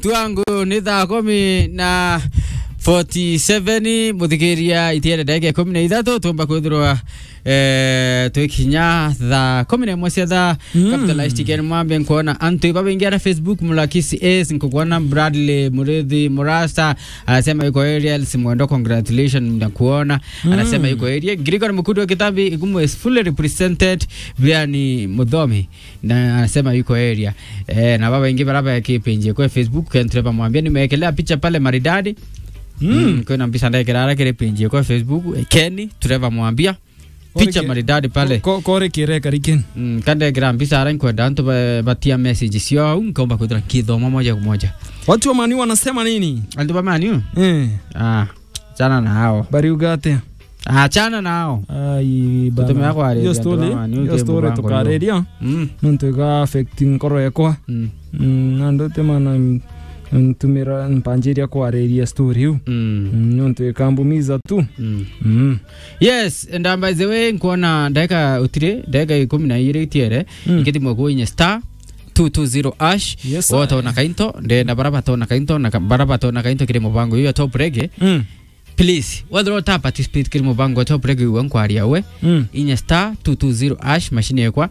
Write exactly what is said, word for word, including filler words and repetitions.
Twangu ni thaa kumi na forty-seven, muthikiria itiere ndagika ikumi na ithatu, tumba kwithirwa, eh, twikinya thaa kumi na imwe cia thaa. Mm. Capitalist Ken Mwambe, nkuona antu babaingi ara Facebook, Mulakisi Ace, nkukuona Bradley Murithi Murasa, anasema yuko area, Alice Mwendo, congratulations, na kuona. Mm. Anasema yuko area. Gregory Mukundi wa Kitambi, Igumu is fully represented, Brian Muthomi. Na anasema yuko area. Eh, na baba ingi baraba ki page kwa Facebook, Ken Trevor Mwambia, nimewekelea picha pale maridadi. Mm. Mm, kwina mbica ndekera ara kiri page kwa Facebook, eh, Ken Trevor Mwambia. Picha maridadi pale. Ko-, ko-, kore kire karikin. Mm, kande kira mbica ara nkwenda antu ba-, batia message cio au, nkomba kwithira nkithoma moja kwa moja. Watu wa Man U wanasema nini? Antu ba Man U? Eh. Ah, chana na hao. Bari ugate. Achana nao. Ai, bana. Tutumia kwaria. Hiyo story, hiyo story tukariria. Mm. Nontu iga affect nkoro yakwa. Mm. Mm, na ndote mana, mm, ntumira mpanjiria kwariria story iu. Mm. Mm, nontu ikambumiza tu. Mm. Mm. Yes, and, um, by the way, nkuona ndagika utire, ndagika ikumi na igiri itiere, mm, ingithimwe ku inye star two two zero hash. Yes, sir. Wotona kainto, ndenda bara batona kainto, na ka-, bara batona kainto kiri mubango uyu ya Top Reggae. Mm. Please, wethirwa uta participate kiri mubango wa Top Reggae uwe nkwaria we, mm, inya star two two zero hash machine yakwa,